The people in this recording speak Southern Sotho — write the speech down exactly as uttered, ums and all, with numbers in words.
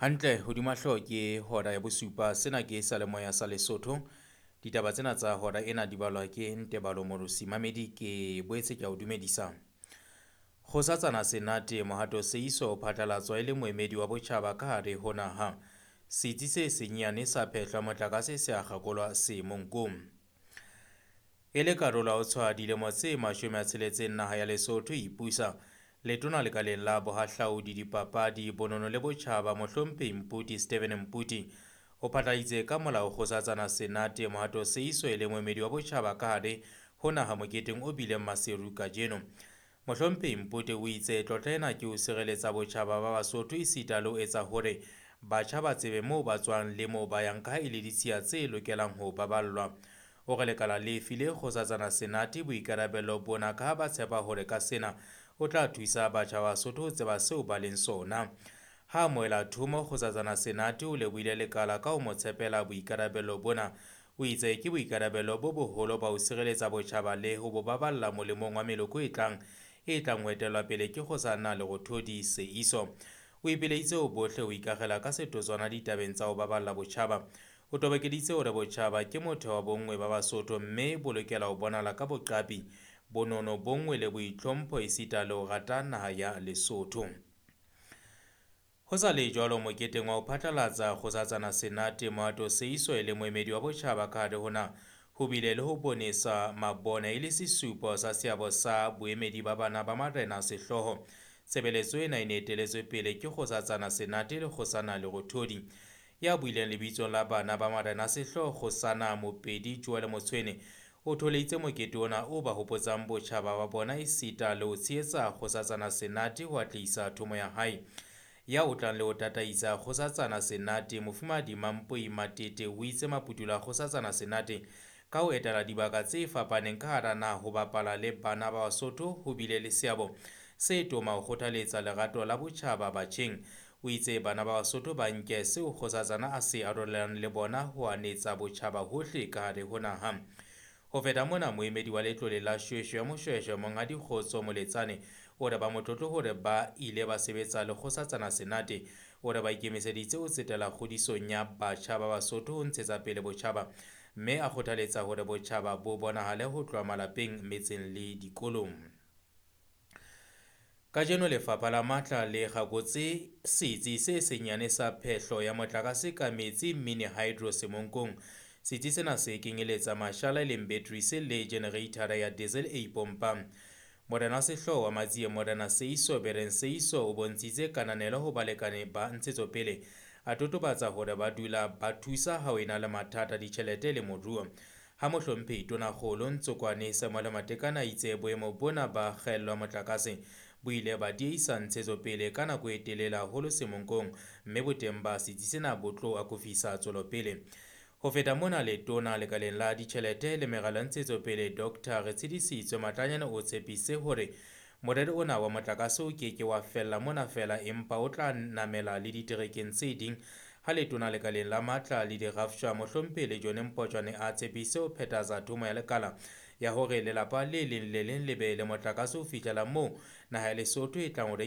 Hantle hodima hlooho ke hora ya bosupa. Sena ke seyalemoya sa Lesotho. Ditaba tsena tsa hora ena di balwa ke Ntebalo Morosi. Mamedi ke boetse ke a o dumedisa. Kgosatsana Senate Mohato Seiso o phatlalatswa e le moemedi wa botjhaba ka hare ho naha. Setsi se senyane sa phehlo ya motlakase se a kgakolwa Semonkong. E le karolo ya ho tshwaya dilemo tse mashome a tsheletseng naha ya Lesotho e ipusa, letona lekaleng la bohahlaudi, dipapadi, bonono le botjhaba Mohlomphehi Mputi Stephen Mputi o phatlaladitse ka molao Kgosatsana Senate Mohato Seiso e le moemedi wa botjhaba ka hare ho naha moketeng o bileng Maseru kajeno. Mohlomphehi Mputi o itse tlotla ena ke ho sireletsa botjhaba ba Basotho esita le ho etsa hore batjha ba tsebe moo ba tswang le moo ba yang ka ha e le ditshiya tse lokelang ho baballwa. O re lekala le file Kgosatsana Senate boikarabelo bona ka ha ba tshepa hore ka sena o tla thusa batjha ba Basotho ho tseba seo ba leng sona. Ha amohela thomo, Kgosatsana Senate o lebohile lekala ka ho mo tshepela boikarabelo bona. O itse ke boikarabelo bo boholo ba ho sireletsa botjhaba le ho bo baballa molemong wa meloko e tlang e tlang ho etellwa pele ke Kgosana Lerothodi Seiso. O ipileditse ho bohle ho ikakgela ka setotswana ditabeng tsa ho baballa botjhaba. O tobokeditse hore botjhaba ke motheo wa bonngwe ba Basotho mme bo lokela ho bonahala ka boqapi, bonono, bonngwe le boitlhompho esita le ho rata naha ya Lesotho. Ho sa le jwalo moketeng wa ho phatlalatsa Kgosatsana Senate Mohato Seiso e le moemedi wa botjhaba ka hare ho naha, ho bile le ho bonesa mabone e le sesupo sa seabo sa boemedi ba bana ba marena sehlooho. Tshebeletso ena e ne eteletswe pele ke Kgosatsana Senate le Kgosana Lerothodi. Ya buileng lebitsong la bana ba marena sehlooho Kgosana Mopedi Joel Motshwene o tholeditse mokete ona o ba hopotsang botjhaba ba bona esita le ho tshehetsa Kgosatsana Senate ho atlehisa thomo ya hae. Ya otlang le ho tataisa Kgosatsana Senate Mofumahadi Mampoi Matete o itse maputulo a Kgosatsana Senate ka ho etela dibaka tse fapaneng ka hara naha ho bapala le bana ba Basotho ho bile le seabo se toma ho kgothaletsa lerato la botjhaba batjheng. O itse bana ba Basotho ba nke seo Kgosatsana a se arolelanang le bona ho anetsa botjhaba hohle ka hare ho naha. Ho feta mona, moemedi wa letlole la Shweshwe ya Moshweshwe Monghadi Kgotso Moletsane o re ba motlotlo hore ba ile ba sebetsa le Kgosatsana Senate. O re ba ikemiseditse ho tsetela kgodisong ya batjha ba Basotho ho ntshetsa pele botjhaba, mme a kgothaletsa hore botjhaba bo bonahale ho tloha malapeng, metseng le dikolong. Kajeno Lefapha la Matla le kgakotse setsi se senyane sa phehlo ya motlakase ka metsi mini hydro Semonkong. Setsi sena se kenyeletsa mashala e leng batteries le generator ya diesel e ipompang. Morena wa sehlooho wa Matsie Morena Seiso Bereng Seiso o bontshitse kananelo ho balekane ba ntshetsopele, a totobatsa hore ba dula ba thusa ha ho ena le mathata ditjhelete le moruo. Ha Mohlomphehi Tonakgolo Ntsokwane Samuel Matekane a itse boemo bona ba kgaello ya motlakase bo ile ba diehisa ntshetsopele ka nako e telele haholo Semonkong, mme boteng ba setsi sena bo tlo akofisa tswelopele. Ho feta mona, letona lekaleng la ditjhelete le meralo ya ntshetsopele Doctor Retshidisitswe Matlanyane o tshepise hore morero ona wa motlakase o ke ke wa fella mona feela empa o tla namela le diterekeng tse ding. Ha letona lekaleng la matla le dirafshwa Mohlomphehi Lejone Mpotjwane a tshepise ho phethahatsa thomo ya lekala ya hore lelapa le leng le leng le be le motlakase ho fihlela moo naha ya Lesotho e tlang ho